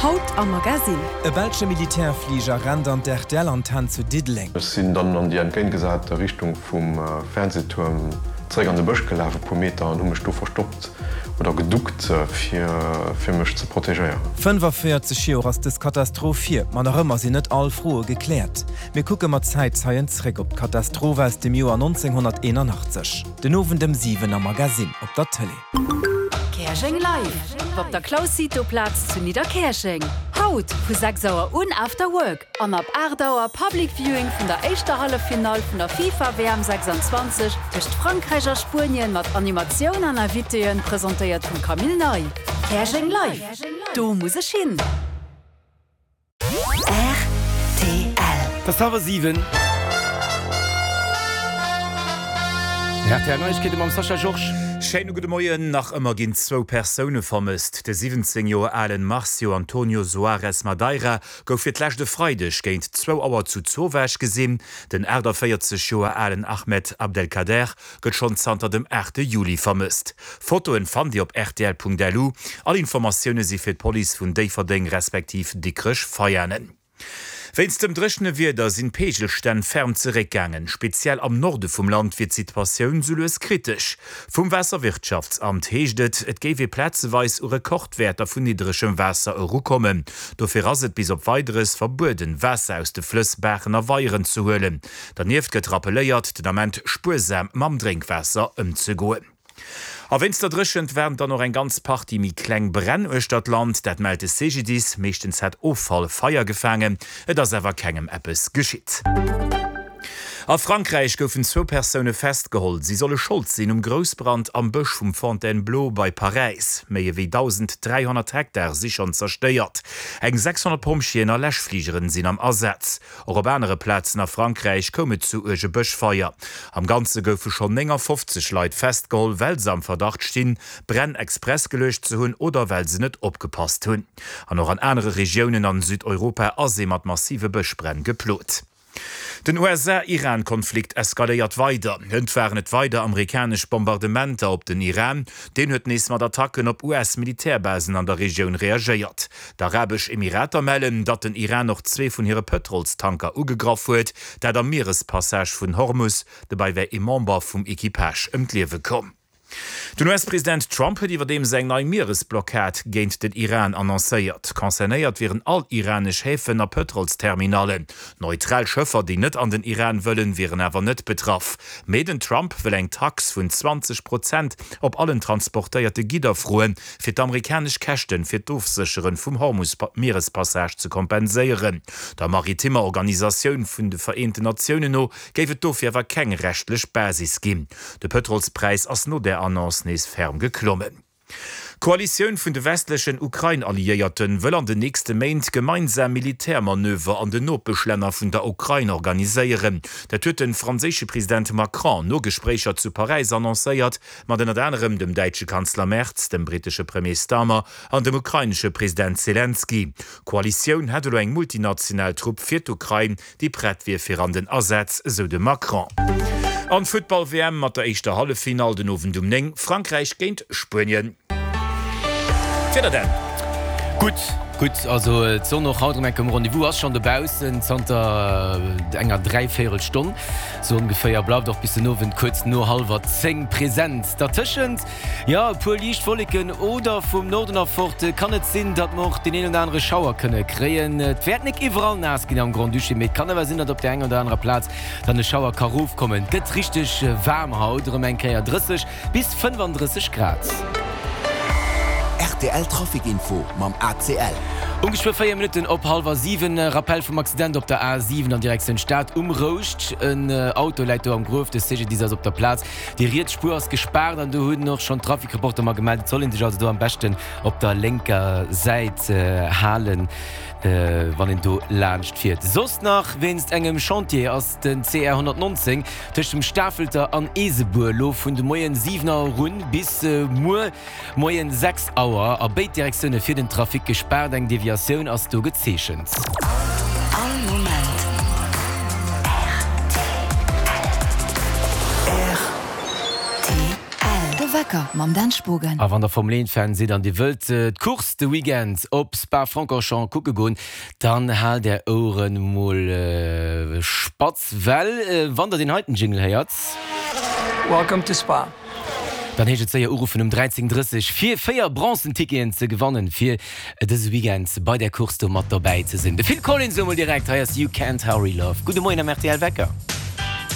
Haut am Magasinn. E belsche Militärfliger rennt an d'RTL-Antenn zu Diddeleng. Ech sinn dann an déi entgéintgesate Richtung vum Fernsehtuerm zeréck an de Bësch gelaf, e puer Meter, an hu mech do verstoppt oder geduckt, fir fir mech ze protegéieren. 45 Joer ass dës Katastroph hier, ma nach ëmmer sinn net all Froe gekläert. Mir kucke mat Zäitzeien zréck op d'Katastroph aus dem Joer 1981. Den Owend ëm 7 am Magasinn op der Tëlee. Käerjeng live! Op der Claus Cito Plaz zu Nidderkäerjeng. Haut vu 6 Auer un After Work an ab 8 Auer Public Viewing vun der éischter Halleffinall vun der FIFA WM 26 tëscht Frankräich a Spuenien mat Animatioun an Invitéen, presentéiert vum Camille Ney. Käerjeng live! Do muss ech hin! Rtl. Et ass hallwer 7. Rtl Neiegkeete mam Sascha Georges. Schéine gudde Moien. Nach ëmmer ginn zwou Persoune vermësst. De 17 Joer alen Marcio Antonio Soares Madeira gouf fir d'lescht e Freideg géint zwou Auer zu Zowaasch gesinn. Den 48 Joer alen Ahmed Abdelkader gëtt schonn zanter dem 8 Juli vermësst. Fotoen fannt Dir op rtl.lu. All Informatioune si fir d'Police vun Déifferdeng respektiv Dikrech-Veianen. Wéinst dem dréchene Wieder sinn d'Peegelstänn ferm zeréckgaangen. Speziell am Norde vum Land wier d'Situatioun sou lues kritesch. Vum Waasserwirtschaftsamt heescht et, et géif ee plazeweis u Rekordwäerter vun niddregem Waasser erukommen. Dofir ass et bis op Weideres verbueden, Waasser aus de Flëss, Baachen a Weieren ze huelen. Dernieft gëtt rappelléiert, den Ament spuersam mam Drénkwaasser ëmzegoen. A wéinst der Dréchent waren dann och eng ganz Partie méi kleng Bränn uechter d'Land. Dat mellt de CGDIS. Meeschtens hätt Offall Feier gefaangen, et ass awer kengem eppes geschitt. A Frankräich goufen zwou Persoune festgeholl. Si solle Schold sinn um Groussbrand am Bësch vum Fontainebleau bei Paräis. Méi ewéi 1.300 Hektar si schonn zerstéiert. Eng 600 Pompjeeën a Läschfligeren sinn am Asaz. Och op anere Plazen a Frankräich koum et zu uerge Bëschfeier. Am Ganze goufe schonn 59 Leit festgeholl, well se am Verdacht stinn, Bränn express geluecht ze hunn oder well se net opgepasst hunn. An och an anere Regiounen an Südeuropa ass ee mat massive Bëschbränn geplot. Den USA-Iran-Konflikt eskaléiert weider. Hënt waren et weider amerikanesch Bombardementer op den Iran. Deen huet nees mat Attacken op US-Militärbasen an der Regioun reagéiert. D'Arabesch Emirater mellen, datt den Iran och zwee vun hire Pëtrolstanker ugegraff huet, dat am Mierespassage vun Hormus. Dobäi wär ee Member vum Equipage ëm d'Liewe komm. Den US-President Trump huet iwwerdeems eng nei Mieresblockad géint den Iran annoncéiert. Concernéiert wieren all iranesch Häfen a Pëtrolsterminallen. Neutral Schëffer, déi net an den Iran wëllen, wieren awer net betraff. Mee den Trump wëll eng Tax vun 20 Prozent op allen transportéierte Gidder froen, fir d'amerikanesch Käschten fir d'Ofsécheren vum Hormus-Mierespassage ze kompenséieren. Der maritimmer Organisatioun vun de Vereenten Natiounen no géif et dofir awer keng rechtlech Basis ginn. De Pëtrolspräis ass no där Annonce nees ferm geklommen. D'Koalitioun vun de westlechen Ukrain-Alliéierten wëll an den nächste Méint gemeinsam Militärmanöver an den Nopeschlänner vun der Ukrain organiséieren. Dat huet de franséische President Macron no Gespréicher zu Paräis annoncéiert, mat ënnert anerem dem däitsche Kanzler Merz, dem brittesche Premier Starmer an dem ukrainesche President Selenskyj. D'Koalitioun hätt elo eng multinational Trupp fir d'Ukrain, déi prett wier fir an den Asaz, esou de Macron. An d'Futtball-WM mat der éischter Halleffinall den Owend um 9, Frankräich géint Spuenien. D'Wieder dann. Gutt, gutt, also d'Sonn och haut erëm enk um Rendez-vous, ass schonn dobaussen zanter enger dräivéierel Stonn sou ongeféier, bleift och bis den Owend kuerz no hallwer 10 present. Dertëschent, jo, e puer liicht Wolleken oder vum Norden erfort kann et sinn, datt mer och deen een oder anere Schauer kënne kréien. Et wäert nik iwwerall naass ginn am Grand-Duché, mee et kann awer sinn, datt op där enger oder anerer Plaz dann e Schauer ka rofkommen. Et gëtt richteg waarm haut, erëm eng Kéier 30 bis 35 Grad. Rtl Trafic Info mam ACL. Um geschwë 4 Minutten op hallwer 7, Rappel vum Accident op der A7 an Direktioun Stad um Rouscht. En Auto läit do am Gruef, de CGDIS ass op der Plaz. Déi riets Spuer ass gespaart an do hunn och schonn d'Trafic-Reporter mer gemellt, et soll ee sech also do am beschten op der lénker Säit halen, wann een do laanscht fiert. Soss nach, Wéinst engem Chantier ass den CR 119 tëscht dem Stafelter an Eesebuer lo vun de Moien 7 Auer un bis muer Moien 6 Auer a béid Direktioune fir den Trafic gespaart. Eng Deviatioun ass do gezeechent. All Moment rtl. De Wecker. Wecker mam Dan Spogen. A wann der Formel 1 Fan sidd an dir wëllt d'Course de Weekend op Spa-Francorchamps kucke goen, dann haalt är Oueren mol spatz, well wann der deen heiten Jingle héiert, Welcome to Spa. Dann heescht et séier uruffen um 13:30 fir 4 bronzen Ticketen ze gewannen fir dëse Weekend bei där Course do mat dobäi ze sinn. De Phil Collins elo mol direkt, hei ass You Can't Hurry Love. Gudde Moien am rtl Wecker.